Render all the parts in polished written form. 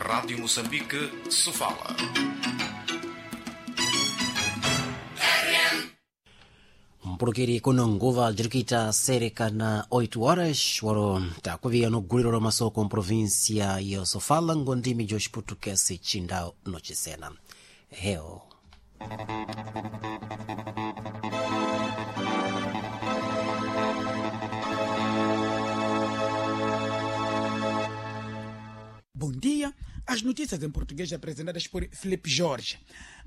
Rádio Moçambique, Sofala. Mpulukiri kuno nguva jirikita sereka na 8 horas waro takuviya no guliro la masoko mprovinsia ya Sofala ngondimi jo Xiputukesi chindao nocisena heo. Bom dia. As notícias em português apresentadas por Felipe Jorge.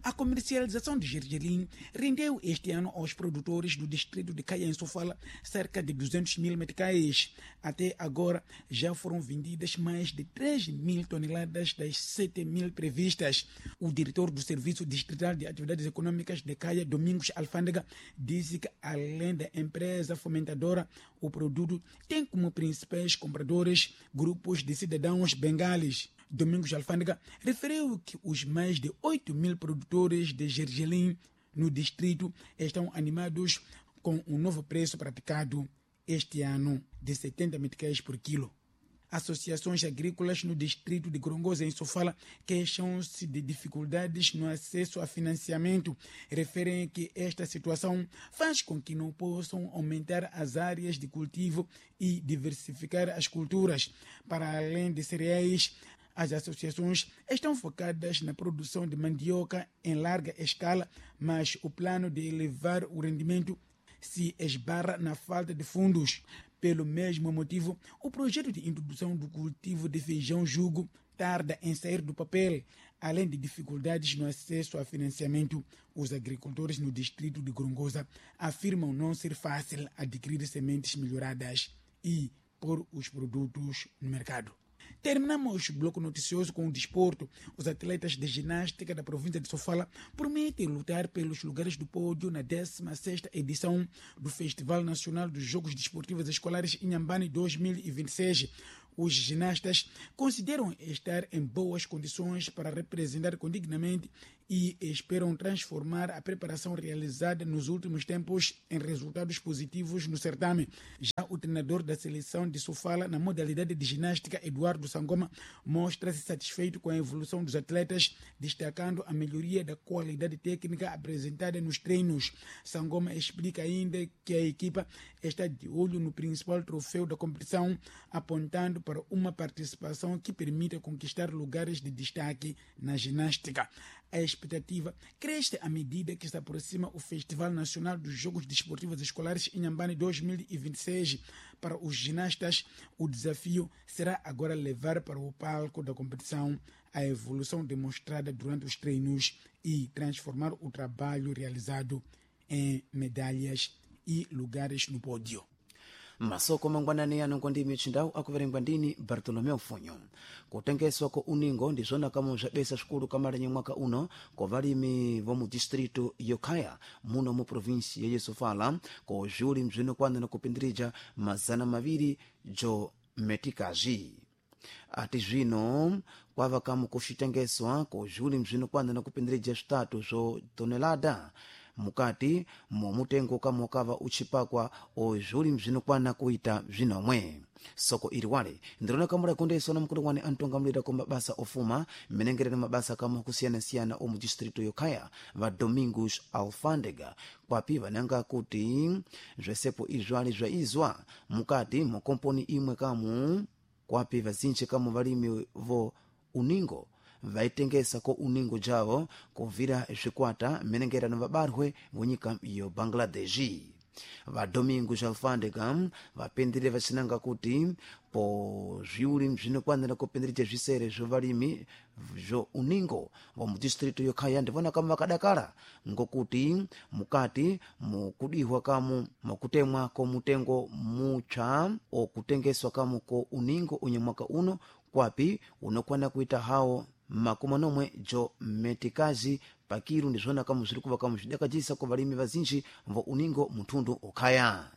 A comercialização de gergelim rendeu este ano aos produtores do distrito de Caia, em Sofala, cerca de 200 mil meticais. Até agora, já foram vendidas mais de 3 mil toneladas das 7 mil previstas. O diretor do Serviço Distrital de Atividades Econômicas de Caia, Domingos Alfândega, disse que, além da empresa fomentadora, o produto tem como principais compradores grupos de cidadãos bengales. Domingos Alfândega referiu que os mais de 8 mil produtores de gergelim no distrito estão animados com o novo preço praticado este ano de 70 meticais por quilo. Associações agrícolas no distrito de Gorongosa, em Sofala, queixam-se de dificuldades no acesso a financiamento. Referem que esta situação faz com que não possam aumentar as áreas de cultivo e diversificar as culturas. Para além de cereais, as associações estão focadas na produção de mandioca em larga escala, mas o plano de elevar o rendimento se esbarra na falta de fundos. Pelo mesmo motivo, o projeto de introdução do cultivo de feijão jugo tarda em sair do papel. Além de dificuldades no acesso a financiamento, os agricultores no distrito de Gorongosa afirmam não ser fácil adquirir sementes melhoradas e pôr os produtos no mercado. Terminamos o bloco noticioso com o desporto. Os atletas de ginástica da província de Sofala prometem lutar pelos lugares do pódio na 16ª edição do Festival Nacional dos Jogos Desportivos Escolares Inhambane 2026. Os ginastas consideram estar em boas condições para representar condignamente e esperam transformar a preparação realizada nos últimos tempos em resultados positivos no certame. Já o treinador da seleção de Sofala na modalidade de ginástica, Eduardo Sangoma, mostra-se satisfeito com a evolução dos atletas, destacando a melhoria da qualidade técnica apresentada nos treinos. Sangoma explica ainda que a equipa está de olho no principal troféu da competição, apontando para uma participação que permita conquistar lugares de destaque na ginástica. A expectativa cresce à medida que se aproxima o Festival Nacional dos Jogos Desportivos Escolares Inhambane 2026. Para os ginastas, o desafio será agora levar para o palco da competição a evolução demonstrada durante os treinos e transformar o trabalho realizado em medalhas e lugares no pódio. Masoko mangwanani ano ngondimi chindau akuverengwa ndini Bartolomeu Funyo. Kutengeswa ko uningo ndizvona kamwe zvabesa zvikuru kamalenye mwaka uno kwa valimi vomu distrito yokhaya muno mu provinsi ya Sofala ko zviuli mzvinokwana na kupindirija 200 jo metikazi. Ati zvino kwava kamwe kuxitengeswa ko zviuli mzvinokwana na kupindirija 3 zvo tonelada mukati momutengo kamwe wakava uchipakwa ozvuli mzvinokwana kuita zvinomwe. Soko iri wale ndirona kamwe rakondeswa na mukulu wane antongamulira ku mabasa ofuma mmenengerero mabasa kamwe akusiyana-siyana omu distrito yokhaya va Domingos Alfândega, kwapi vananga kuti zvesepo izvali zvaizwa mukati mokomponi imwe kamu kwapi vazinji kamwe valimi vo uningo vaitengesa ko uningo javo kuvira zvikwata mmenengerano vabarwe vonyika yo Bangladeshi. Va Domingos Alfândega vapindire vacinanga kuti po zviuli mzvinokwanira kupindirija zvisere zvo valimi zvo uningo va mudistrito yokhaya ndivona kamwe vakadakala ngokuti mukati mukudihwa kamu mukutemwa ko mutengo mupsa okutengeswa kamu ko uningo unye mwaka uno kwapi unokwana kuita hawo 70 jo metikazi pakiru ndizvona kamwe zviri kuva kamwe zvidakajisa ku valimi vazinji vo uningo muthundu okhaya.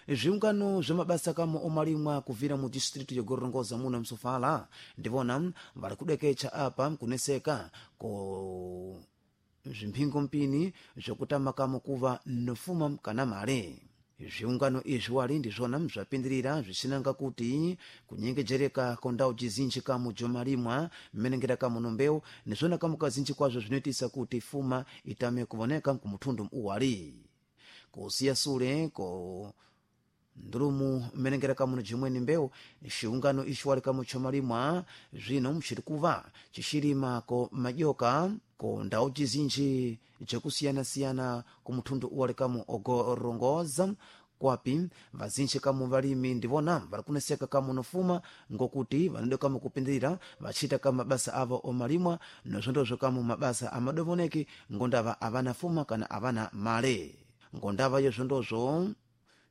Zviungano zvemabasa kamwe omalimwa kubvira mu distrito yogorongoza muno msofala ndivona vari kudekecha apa kuneseka ko zvimphingo mpini zvokutama kamwe kuva nofuma kana male. Zviungano izvi wali ndizvona zvapindirira zvicinanga kuti kunyengejereka ko ndau jizinji kamu jomalimwa mmenengera kamu no mbeu ndizvona kamu kazinji kwazvo zvinoitisa kuti fuma itame kuvoneka kumuthundu uwali kusiya sule ko ndulumu mmenengera kamuno jimweni mbeu. Xiungano ixi wali kamu chomalimwa zvino mxiri kuva cixilima ko madyoka ko ndau jizinji jakusiyana-siyana kumuthundu uwali kamu ogorongoza, kwapi vazinji kamu valimi ndivona vari kuneseka kamu nofuma ngokuti vanode kamu kupindirira vachita kamu mabasa avo omalimwa nozvondozvo kamu mabasa amadovoneki ngondava avana fuma kana avana male. Ngondava yozvondozvo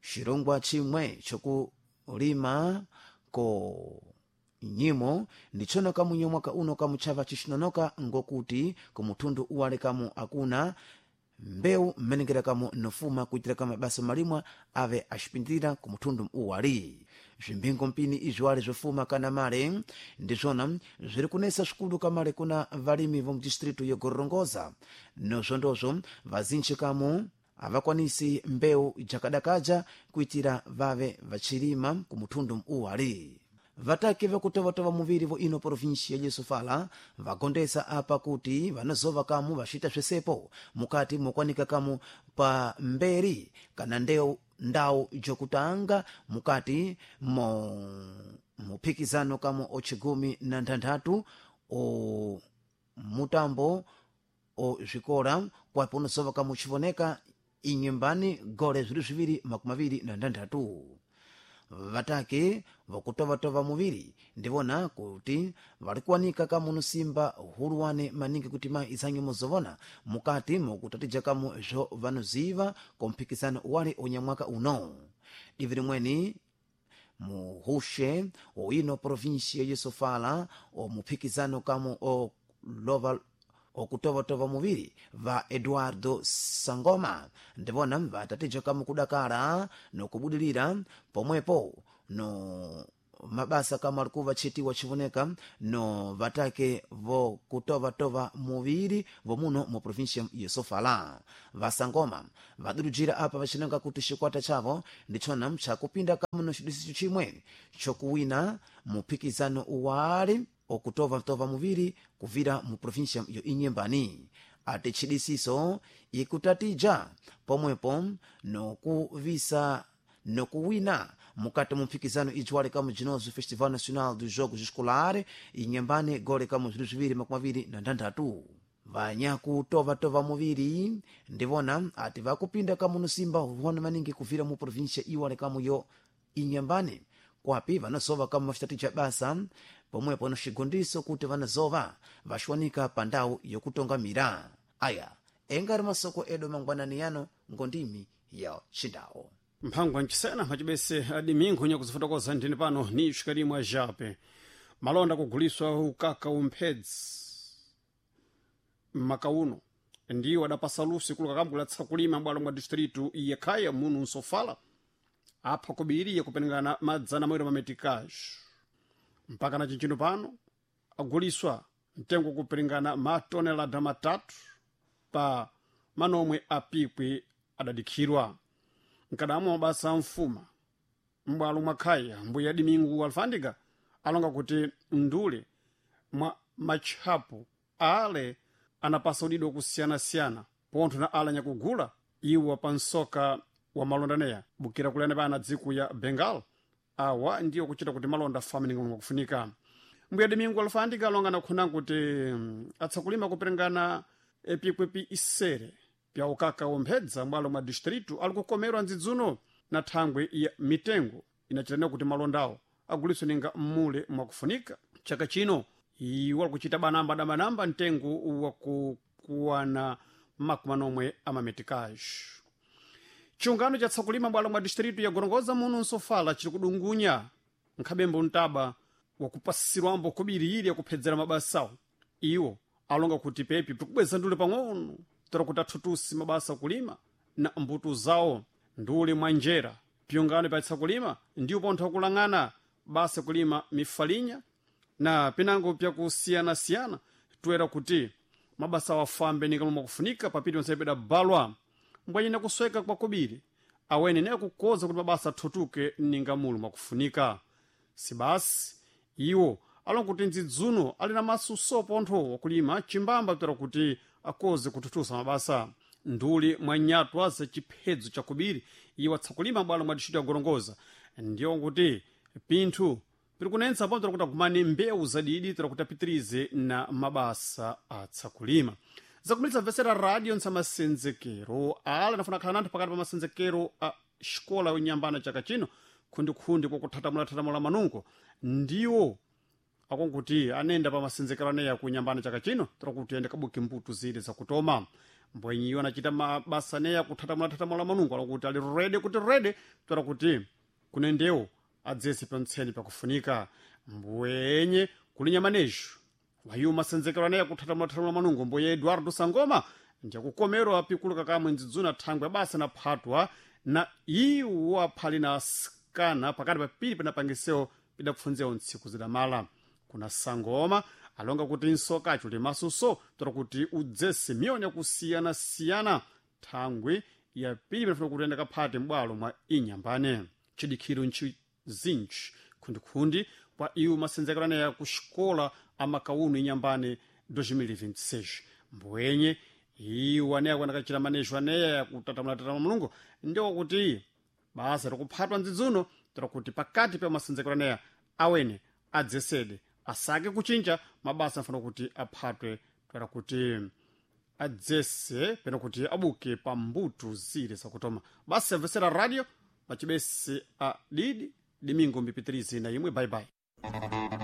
xirongwa chimwe chokulima ko nyimo ndichona kamunye mwaka uno kamuchava chixinonoka ngokuti kumuthundu uwale kamu akuna mbeu mmenengera kamu nofuma kuitira kama mabasa malimwa ave axipindirira kumuthundu uwali. Zvimbingo mpini izvi wali zvofuma kana male ndizvona zviri kunesa zvikulu kamale kuna valimi vomudistritu yogorongoza, nozvondozvo vazinji kamu avakwanisi mbeu jakadakaja kuitira vave vachilima kumuthundu uwali. Vataki vakutovatova muviri vo ino provinsia ya Sofala vagondesa apa kuti vanozova kamu vaxita swesepo mukati mokwanika kamu pa mberi kana ndeu ndau jokutanga mukati mo muphikizano kamu ochigumi na nthanthatu o mutambo o zwikola kwapo unozova kamu uchivoneka inyembani gole zviri 2026. Vatake vakutovatova muviri ndivona kuti vari kuwanika kamu simba huluwane maningi kuti ma izanyu muzovona mukati mukutatija kamu zvo vanoziva komphikizano wali unyamwaka uno. Divi limweni muhushe oino provinsia ya Sofala omuphikizano kamu olova okutovatova muviri va Eduardo Sangoma ndivona vatatija kamu kudakala nokubudilira pomwepo no mabasa kama alikuva chitiwa chivoneka no vatake vokutovatova muviri vomuno mu provinsia ya Sofala. Vasangoma vadurujira apa vachinanga kuti xikwata chavo ndichona chakupinda kamu no xidisicho chimwe chokuwina muphikizano uwali okutovatova muviri kuvira mu provinsia yo Inyembani. Ati chidisiso ikutatija pomwepo nokuvisa nokuwina mukati mu mphikizano ijwale kamu jinozo Festival Nacional dos Jogos Escolares Inyembani gole kamu 2026. Vanyakutovatova muviri ndivona ati vakupinda kamu nosimba huona maningi kuvira mu provinsia iwale kamu yo Inyembani, kwapi vanazova kamu vaxitatija basa pomwepo no xigondiso kuti vanazova vaxiwanika pa ndau yokutongamira. Aya engari masoko edu mangwanani yano ngondimi ya Xindau. Mphangwa ncisena macibese adimingo nyakuzifotokoza ndini pano ni xikalimwa jape malonda kuguliswa ukaka umphedzi mmakauno ndiwo adapasa lusi kuluka kambulatsa kulima bwalo mwa distritu yekhaya munu nsofala apha kubiri kupenengana madzana mawiri mametikaxo mpaka na cincino pano aguliswa mtengo kupenengana matonelada matatu pa manomwe apikwi adadikhirwa nkadamwa mabasa amfuma m'bwalo mwa khaya mbuya Dimingu Alfandika alonga kuti ndule mwa matchapo ale anapasa udido kusiyana-siyana pontho na ale anyakugula iwo pa nsoka wa malondaneya bukira kulena pana dziko ya Bengal awa ndiyo kuchita kuti malonda afame kufunika. Mbuya Dimingu Alfandika alonga nakhuna kuti atsakulima kuperengana epikwepi isere pya ukaka womphedza m'bwalo mwa distritu ali kukomerwa ndzidzuno na thangwe ya mitengo inachitana kuti malondawo aguliswe ninga mmule mwakufunika. Chaka chino iwo alikuchita banamba dabanamba mtengo wakukuwana 80 amametikaxo. Chiungano cha tsakulima bwalo mwa distritu ya Gorongoza muno nsofala chiri kudungunya nkhabembo mtaba wakupasirwambo kubiri ili yakuphedzera mabasawo. Iwo alonga kuti pepi pikubweza ndule pang'ono tora kuti athutusi mabasa akulima na mbuto zawo ndule mwa njera. Pyungano pa tsakulima ndiwo pontho akulang'ana basa kulima mifalinya na pinango pyakusiyana-siyana toera kuti mabasa awafambe ninga momwe akufunika papiti onsepeda balwa mbwanyina kusweka kwa kubiri. Awene naye kukoza kuti mabasa athutuke ninga mulu mwakufunika. Sibasi iwo alonga kuti ndzidzuno ali na masuso pontho wakulima chimbamba kutera kuti akoze kuthuthusa mabasa. Nduli mwa nyatwa za chiphedzo chakubiri iwo atsakulima bwalo mwa distrito ya Gorongosa ndiyo kuti pinthu piri kunentsa po tera kuti agumane mbewu zadidi tera kuti apitirize na mabasa atsakulima. Zakumalitsa mvesera radio ntsamasenzekero ala anafuna khala nanthu pakati pa masenzekero a xikola yonyambana chaka chino khundikhundi kwakuthatamula-thatamula manungo ndiwo akonkuti anenda pa masenzekero aneya kunyambana chaka chino tera kuti ende kabuke mbuto zile zakutoma. Mbwenyiyo anachita mabasa aneya kuthatamula-thatamula manungo alakuti ali rede kuti rede tera kuti kunendewo adzese pantseni pakufunika. Mbwenye kulinya manejo wayiwo masenzekero aneya kuthatamula-thatamula manungo mboye Eduardo Sangoma ndiyakukomerwa apikuluka kamwe ndzidzuna thangwe basa naphatwa na iwo aphali na asikana pakati papiri panapangisewo pidapfunzewo ntsiku zidamala. Kuna Sangoma alonga kuti nsokacho limasuso tera kuti udzese miyoni yakusiyana-siyana thangwi yapiri panafuna kuti enda kaphate m'bwalo mwa inyambane chidikhiro nchi zinji khundikhundi kwa iwo masenzekero aneya ku xikola amakauno inyambane 2026. Mbwenye iwo aneya kuanakachita manejo aneya kutatamula-tatamula mulungu ndiwo kuti basa likuphatwa ndzidzuno tera kuti pakati pa masenzekero aneya awene adzesede asake kuchinja mabasa afana kuti aphatwe tera kuti adzese pena kuti abuke pa mbuto zile zakutoma. Basa yamvesera radio pachibese a didi domingo mbipitirize na imwe. Bye bye.